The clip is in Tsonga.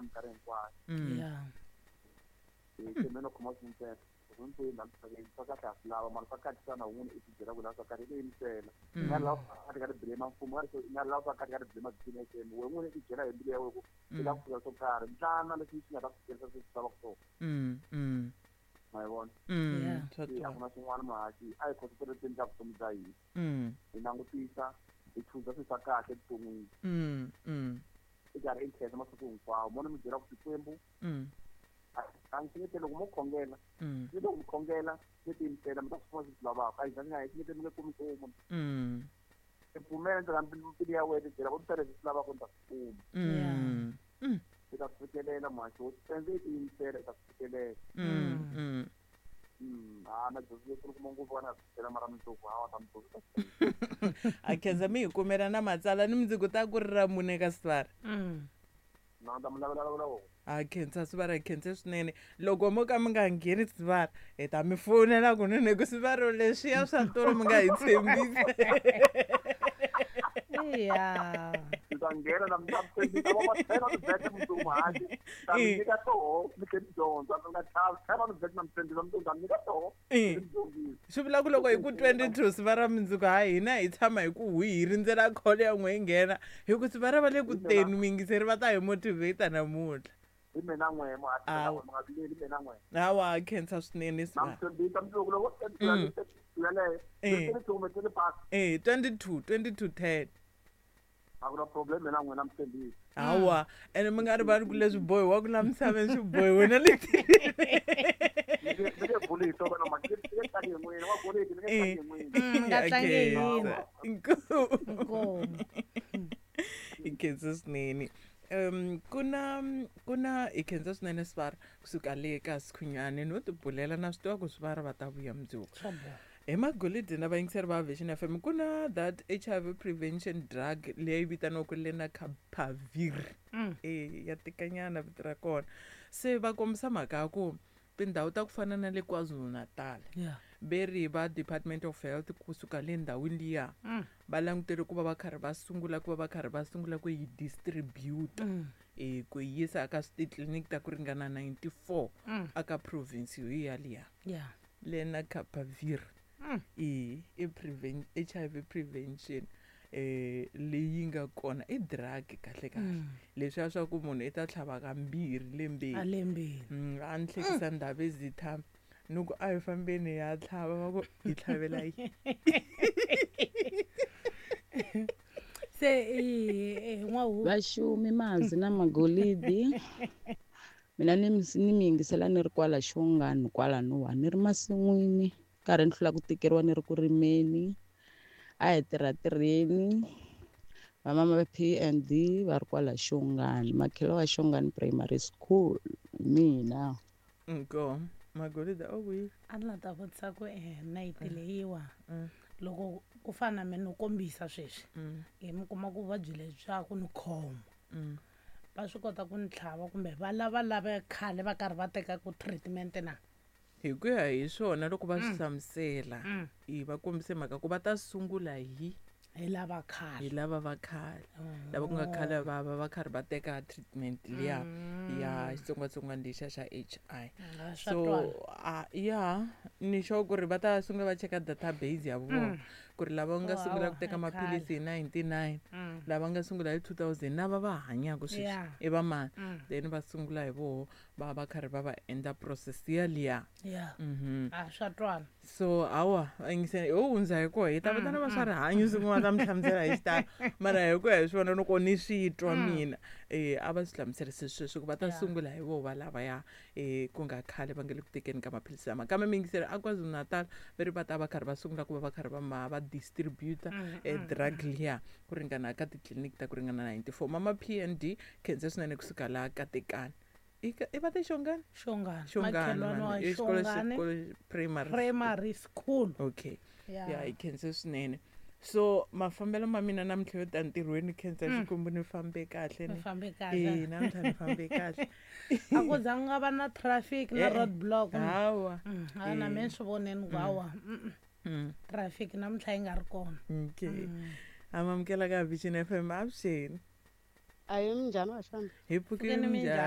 na minkarhi hinkwayo. Yeah. Se mina khoma swi ntsena loko ni la misaveni swa kahle a swi lava mara swa kahle xana wun'we i tibyela ku lava swa kahle i tiyimisela. I nga lava swa kahle ka ri blame mfumo i nga lava swa kahle ka ri blame BNHM we n'wini i tibyela hi mbilu ya wena ku i lava ku fika swo karhi ntlana leswi swi nga ta ku fikelisa sweswi swi lavaka swona. Ma yi vona? Yeah. Swa Se a twala. ku na swin'wana muhaxi a hi concentrate ka vutomi bya hina. Hi langutisa hi chuza swilo swa kahle evuton'wini. I karhi i khensa masiku hinkwawo mo ni mi byela ku Xikwembu a ni hlekete loko mo khongela ni loko mi khongela mi tiyimisela mi ta swi kuma leswi swi lavaka a hi zanga hi hlekete mi nge kumi nchumu. I pfumela ndzeni ka mbilu ya wena i byela ku ni ta leswi swi lavaka ni ta swi kuma. I ta swi fikelela muhaxi wo tsendze i tiyimisela i ta swi fikelela. A na dyondzo leyi kuma ngopfu va na swi byela mara mundzuku hawa ta mundzuku ta swi A khensa mi hi kumela na matsala ni mundzuku ta ku ri ra mune ka sivara. Na ta mi lavela lavela wona. A khensa sivara, hi khense swinene. Loko mo ka mi nga ngheni sivara hi ta mi fonela kunene ku sivaro leswiya swa tolo mi nga hi tshembisa. Yeah. Mi ta nghena na mi ta tshembisa va tlhela mi vheta mundzuku muhaxi. Ta mi nyika toho mi tlhela mi dyondza mi nga chavi tlhela mi vheta na mi tshembisa mundzuku ta mi nyika toho mi dyondzisa. Swi vula ku loko hi ku 22 sivara mundzuku ha hina hi tshama hi ku hwi hi rindzela call ya n'we yi nghena hi ku sivara va le ku teni muyingiseri va ta hi motivate namuntlha. Hi mina n'we muhaxi Hawa. mi nga vileli mina n'we. Hawa khensa swinene Na mi sivara. tshembisa mundzuku loko tshembisa yeleyo 22 kumbe 25. 22, 22 10. A ku na problem mina n'wina mi tshembisa. Hawa ene mi nga rivali ku leswi bohiwaka la misaveni swi bohiwe na le tilweni. Mi nge buli hi swona mhaka mi nge tlangi hi n'wina wa golidi mi nge tlangi hi n'wina. Mi nga tlangi hi hina. Inkomu. Inkomu. Hi khensa swinene. Kuna hi khensa swinene sivara kusuka le ka Sikhunyani no tibulela na swi tiva ku sivara va ta vuya mundzuku. Swa boha. Hi magolidi na vayingiseri va Vision FM ku na that HIV prevention drug leyi vitaniwaka Lenacapavir. Ya tikanyana vito ra kona. Se va kombisa mhaka ya ku tindhawu ta ku fana na le KwaZulu-Natal. Ve ri va Department of Health kusuka le ndhawini liya va langutele ku va va karhi va sungula ku va va karhi va sungula ku yi distribute ku yi yisa eka titliliniki ta ku ringana 94 aka province yo yaliya. Lenacapavir. I HIV prevention leyi nga kona i drug kahle kahle. Leswiya swa ku munhu i ta tlhava kambirhi lembeni. A lembeni. A ni hlekisa ndhawu ezitha ni ku a hi fambeni hi ya tlhava va ku hi tlhavela yini. Se n'wahu. Vaxumi mazi na magolidi. Mina ni mi yingisela ni ri kwala Xongani kwalanowa ni ri masin'wini karhi ni hlula ku tikeriwa ni ri ku rimeni. A hi tirha tirheni. Va mama P and D va ri kwala Xongani, makhelo wa Xongani Primary School mina. Inkomu. Magolidi a wu A ni la ta vutisa ku nayiti leyiwa loko ku fana na mina no kombisa sweswi hi mi kuma ku vuvabyi lebyi ku ni khoma. Va swi kota ku ni tlhava kumbe va lava lava khale va karhi va teka ku treatment na? Hi ku ya hi swona loko va swi hlamusela hi va kombise mhaka ku va ta sungula hi Hi lava khale. Hi lava va khale. Lava ku nga khale va va va karhi va teka treatment liya ya xitsongwatsongwana lexiya xa HI. Swa So twala. ya ni sure ku ri va ta sungula va cheka database ya vona ku ri lava nga sungula ku teka Hawa, maphilisi hi 99 lava nga sungula hi 2000 na va va hanyaka sweswi i va mani. Then va sungula hi voho va va karhi va va endla process yaliya. Swa twala. So hawa yingiseni ho hundza hi koho hi ta vitana va swa rihanyo siku va ta mi hlamusela hi xitalo mara hi ku ya hi swona loko ni swi twa mina a va swi hlamuserise sweswo ku va ta sungula hi voho va lavaya ku nga khale va nga le ku tekeni ka maphilisi lama kambe miyingiseri a KwaZulu-Natal va ri va ta va karhi va sungula ku va va karhi va ma va distributor drug liya ku ringana ka titliliniki ta ku ringana 94. Mama P and D khense swinene kusuka laha Katekani. I va te Xongani? Xongani. Xongani, Makhelwani wa mani. I xikolo Xongani. xikolo primary. Primary school. Okay. Ya hi khense swinene. So mafambelo ma mina namuntlha yo ta ntirhweni khensa Xikwembu ni fambe kahle Ni ni. fambe kahle. Namuntlha ni fambe kahle. A ku zanga nga va na traffic na road block. Hawa. A na mina swi voneni ku hawa. Traffic namuntlha yi nga ri kona. Okay. Amamukela ka Vision FM avuxeni. Ayi minjhani vaxana? Hi pfukile Pfukeni minjhani? minjhani?